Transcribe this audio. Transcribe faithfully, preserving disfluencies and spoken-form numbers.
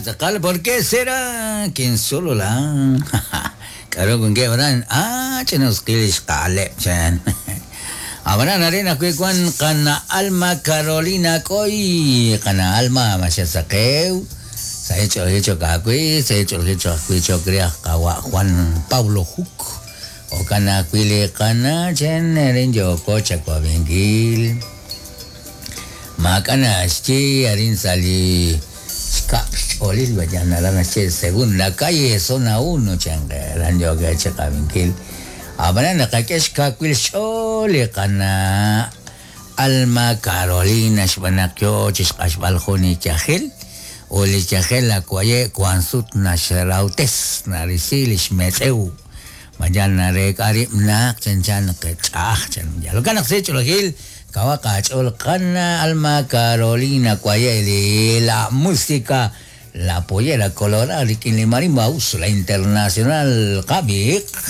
Tz'aqal, ¿por qué será que solo la k'aru wankeb' aran? Ah, ch'inusqil xqa'aleb' chan. Ab'anan arin ajwi' wan qana Alma Carolina K'oy, qana Alma maxasaqew sa' ch'oolej chok ajwi', sa' ch'oolej ajwi' chok re aj qawa' Juan Pablo Juk jo'kan ajwi' li qana chan arin yooko chawabinkil maak'a' naxye arin sa' li xkab' xch'oolil vayan aran naxye segunda calle zona uno chan aran yooko chiqabinkil. Ab'anan naqak'e xkawil xch'ool li qana Alma Carolina xb'aan naq yoo chixq'axb'al jun li yajel ut li yajel akwaye' wan sut naxrawtes narisi li xmetz'ew mayan nareek'a rib' naq chanchan naq ch'a'aj chan jo'kan naq sa' ch'oolejil kawaq aach'ool qana Alma Carolina kwaye' li la música La Pollera Colorada rik'in li marimba la internacional qabiq.